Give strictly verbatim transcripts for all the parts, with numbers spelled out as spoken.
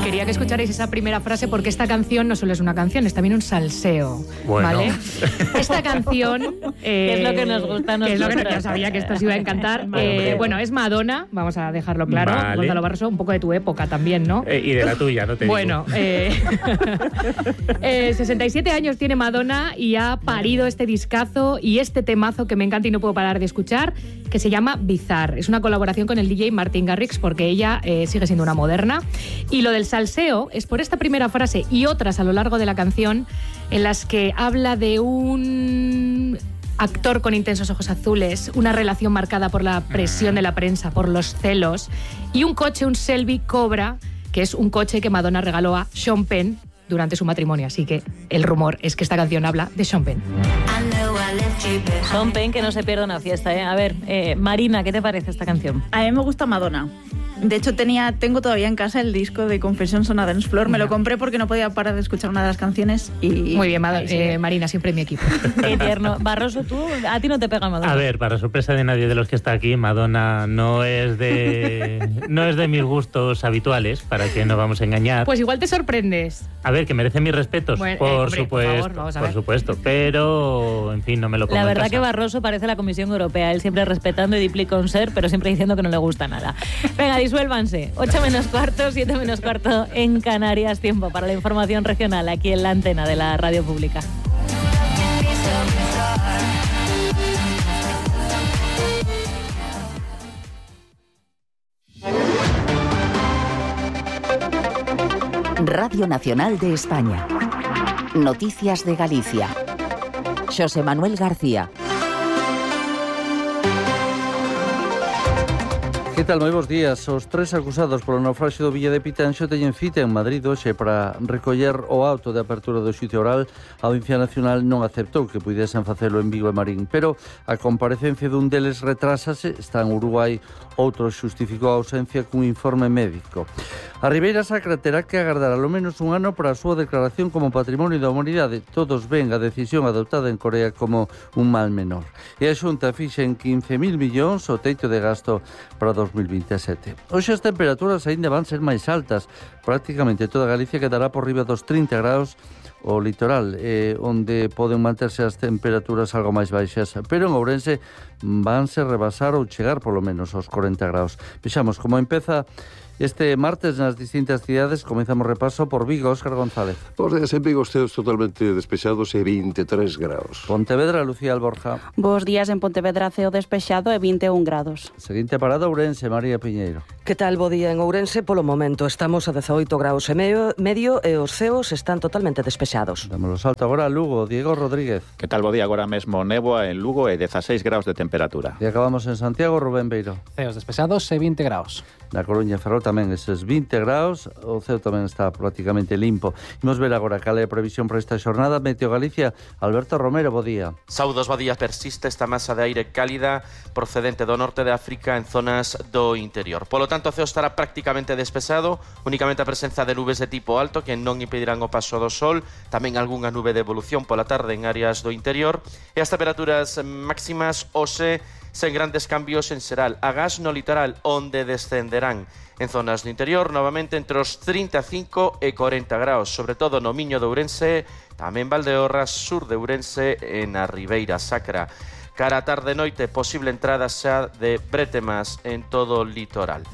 Quería que escucharais esa primera frase porque esta canción no solo es una canción, es también un salseo, bueno. ¿vale? Esta canción... Eh, es lo que nos gusta a nosotros. Es lo que yo sabía que esto os iba a encantar. Eh, bueno, es Madonna, vamos a dejarlo claro. Vale. Gonzalo Barroso, un poco de tu época también, ¿no? Eh, y de la tuya, no te bueno, digo. Eh, eh, sesenta y siete años tiene Madonna y ha parido este discazo y este temazo que me encanta y no puedo parar de escuchar, que se llama Bizarre. Es una colaboración con el D J Martin Garrix porque ella eh, sigue siendo una moderna. Y lo del salseo es por esta primera frase y otras a lo largo de la canción en las que habla de un actor con intensos ojos azules, una relación marcada por la presión de la prensa, por los celos, y un coche, un Shelby Cobra, que es un coche que Madonna regaló a Sean Penn durante su matrimonio. Así que el rumor es que esta canción habla de Sean Penn. Sean Penn, que no se pierda una fiesta, ¿eh? A ver, eh, Marina, ¿qué te parece esta canción? A mí me gusta Madonna. De hecho, tenía, tengo todavía en casa el disco de Confessions on a Dance Floor. Me lo compré porque no podía parar de escuchar una de las canciones y... Muy bien, Mad- eh, Marina, siempre en mi equipo. Qué tierno. Barroso, tú, a ti no te pega Madonna. A ver, para sorpresa de nadie de los que está aquí, Madonna no es de no es de mis gustos habituales, para que no vamos a engañar. Pues igual te sorprendes. A ver, que merece mis respetos, Bueno, por eh, hombre, supuesto, por favor, vamos a por ver. supuesto, pero en fin, no me lo pongo La en verdad casa. que Barroso parece la Comisión Europea, él siempre respetando y dipli con ser, pero siempre diciendo que no le gusta nada. Venga, disuélvanse. ocho menos cuarto, siete menos cuarto en Canarias. Tiempo para la información regional aquí en la antena de la radio pública. Radio Nacional de España. Noticias de Galicia. Xosé Manuel García. Que tal, moi bons días. Os tres acusados polo naufraxio do Villa de Pitanxo teñen cita en Madrid hoxe para recoller o auto de apertura do xuízo oral. A Audiencia Nacional non aceptou que puidesen facelo en Vigo e Marín, pero a comparecencia dun deles retrásase, está en Uruguai, outro xustificou a ausencia cun informe médico. A Ribeira Sacra terá que agardar alo menos un ano para a súa declaración como Patrimonio da Humanidade. Todos ven a decisión adoptada en Corea como un mal menor. E a Xunta fixa en quince mil millóns o teito de gasto para dos mil veintisiete. Hoxe as temperaturas aínda van ser máis altas. Prácticamente toda Galicia quedará por riba dos trinta graus, o litoral, eh, onde poden manterse as temperaturas algo máis baixas, pero en Ourense vanse rebasar ou chegar polo menos aos corenta graus. Vexamos como empeza este martes nas distintas cidades. Comezamos repaso por Vigo, Óscar González. Bos días, en Vigo ceos totalmente despexados e vinte e tres graus. Pontevedra, Lucía Alborja. Bos días, en Pontevedra ceo despexado e vinte e un grados. Seguinte parada, Ourense, María Piñeiro. Que tal, bo día en Ourense? Polo momento estamos a dezaoito graus e medio, medio e os ceos están totalmente despexados. Damos o salto agora a Lugo, Diego Rodríguez. Que tal, bo día, agora mesmo néboa en Lugo e dezaseis graus de temperatura. E acabamos en Santiago, Rubén Beiro. Ceos despexados e vinte graus. Na Coruña, Ferrol tamén eses vinte graus, o ceo tamén está prácticamente limpo. Imos ver agora cal é a previsión para esta xornada. Meteo Galicia, Alberto Romero, bo día. Saudos, bo día. Persiste esta masa de aire cálida procedente do norte de África en zonas do interior. Polo tanto, o ceo estará prácticamente despexado, únicamente a presenza de nubes de tipo alto que non impedirán o paso do sol, tamén algunha nube de evolución pola tarde en áreas do interior, e as temperaturas máximas hoxe sen grandes cambios en Seral, agás no litoral, onde descenderán en zonas do interior, novamente entre os trinta e cinco e corenta graus, sobre todo no Miño de Ourense, tamén Valdeorras, sur de Ourense e na Ribeira Sacra. Cara a tarde e noite, posible entrada xa de brétemas en todo o litoral.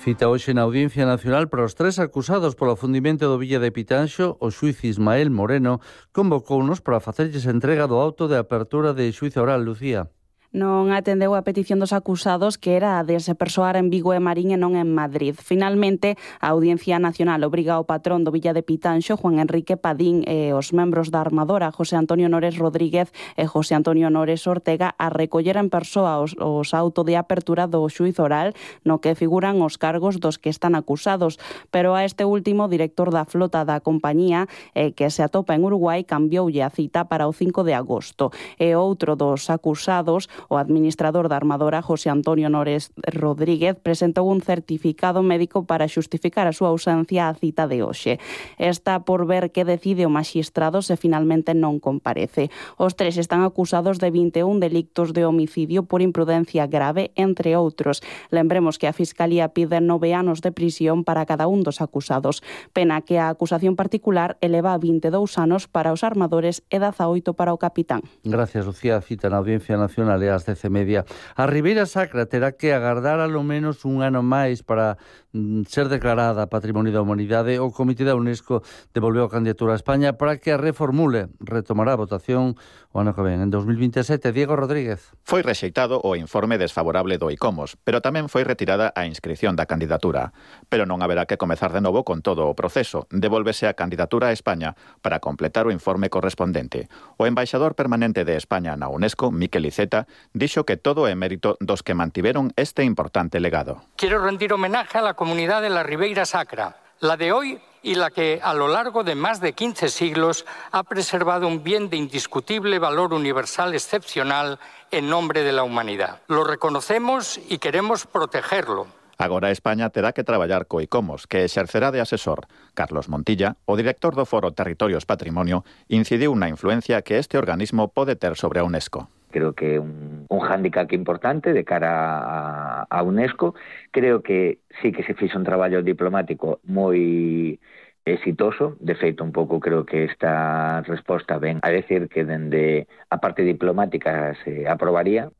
Cita hoxe na Audiencia Nacional para os tres acusados polo afundimento do Villa de Pitanxo. O xuiz Ismael Moreno convocounos para facerlles entrega do auto de apertura de xuízo oral. Lucía. Non atendeu a petición dos acusados, que era a de se persoar en Vigo e Marín e non en Madrid. Finalmente, a Audiencia Nacional obriga ao patrón do Villa de Pitanxo, Juan Enrique Padín, e os membros da Armadora, José Antonio Nores Rodríguez e José Antonio Nores Ortega, a recoller en persoa os, os auto de apertura do xuízo oral, no que figuran os cargos dos que están acusados. Pero a este último, director da flota da compañía, eh, que se atopa en Uruguai, cambioulle a cita para o cinco de agosto. E outro dos acusados, O administrador da armadora, José Antonio Nores Rodríguez, presentou un certificado médico para xustificar a súa ausencia á cita de hoxe. Está por ver que decide o maxistrado se finalmente non comparece. Os tres están acusados de vinte e un delictos de homicidio por imprudencia grave, entre outros. Lembremos que a Fiscalía pide nove anos de prisión para cada un dos acusados, pena que a acusación particular eleva a vinte e dous anos para os armadores e dezaoito para o capitán. Gracias, Lucía. Cita na Audiencia Nacional e ás dez e media. A Ribeira Sacra terá que agardar alo menos un ano máis para mm, ser declarada Patrimonio da Humanidade. O Comité da UNESCO devolveu a candidatura a España para que a reformule. Retomará a votación o ano que ven, en dos mil vinte e sete. Diego Rodríguez. Foi rexeitado o informe desfavorable do ICOMOS, pero tamén foi retirada a inscrición da candidatura. Pero non haberá que comezar de novo con todo o proceso. Devolvese a candidatura a España para completar o informe correspondente. O embaixador permanente de España na UNESCO, Miquel Iceta, dixo que todo é mérito dos que mantiveron este importante legado. Quiero rendir homenaje a la comunidad de la Ribeira Sacra, la de hoy y la que a lo largo de más de quince siglos ha preservado un bien de indiscutible valor universal excepcional en nombre de la humanidad. Lo reconocemos y queremos protegerlo. Agora España terá que traballar co ICOMOS, que exercerá de asesor. Carlos Montilla, o director do Foro Territorios Patrimonio, incidiu na influencia que este organismo pode ter sobre a UNESCO. Creo que un, un hándicap importante de cara a, a UNESCO. Creo que sí que se fixo un traballo diplomático moi exitoso. De feito, un pouco creo que esta resposta ven a decir que dende a parte diplomática se aprobaría.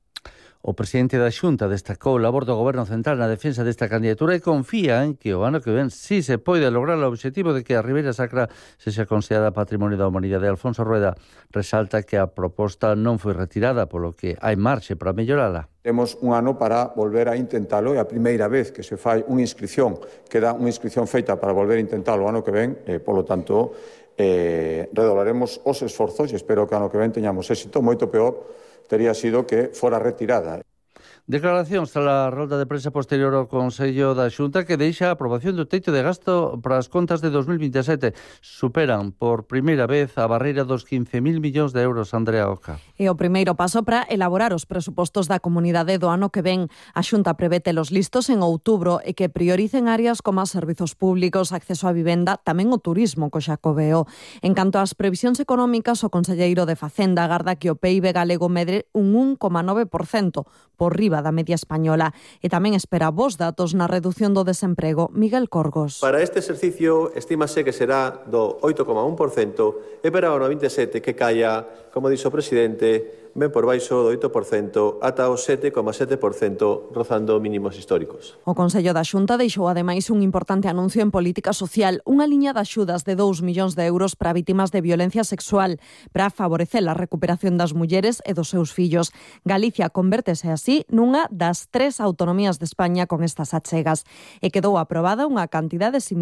O presidente da Xunta destacou o labor do Goberno Central na defensa desta candidatura e confía en que o ano que ven sí se pode lograr o obxectivo de que a Ribeira Sacra sexa considerada Patrimonio da Humanidade. Alfonso Rueda resalta que a proposta non foi retirada, polo que hai marxe para mellorala. Temos un ano para volver a intentalo e a primeira vez que se fai unha inscripción, queda unha inscripción feita para volver a intentalo o ano que ven, e, polo tanto, eh, redoblaremos os esforzos e espero que ano que ven teñamos éxito. Moito peor tería sido que fora retirada. Declaracións tras a rolda de prensa posterior ao Consello da Xunta que deixa a aprobación do teito de gasto para as contas de dos mil vinte e sete. Superan por primeira vez a barreira dos quince mil millóns de euros, Andrea Oca. E o primeiro paso para elaborar os presupostos da comunidade do ano que ven. A Xunta prevé telos listos en outubro e que prioricen áreas como os servizos públicos, acceso á vivenda, tamén o turismo co Xacobeo. En canto ás previsións económicas, o conselleiro de Facenda agarda que o P I B galego medre un un coma nove por cento, por riba da media española, e tamén espera bons datos na redución do desemprego. Miguel Corgos. Para este exercicio estímase que será do oito coma un por cento e para o ano vinte e sete que caia, como dixo o presidente, ben por baixo do oito por cento ata o sete coma sete por cento, rozando mínimos históricos. O Consello da Xunta deixou ademais un importante anuncio en política social, unha liña de axudas de dous millóns de euros para vítimas de violencia sexual, para favorecer a recuperación das mulleres e dos seus fillos. Galicia convértese así nunha das tres autonomías de España con estas achegas e quedou aprobada unha cantidade similar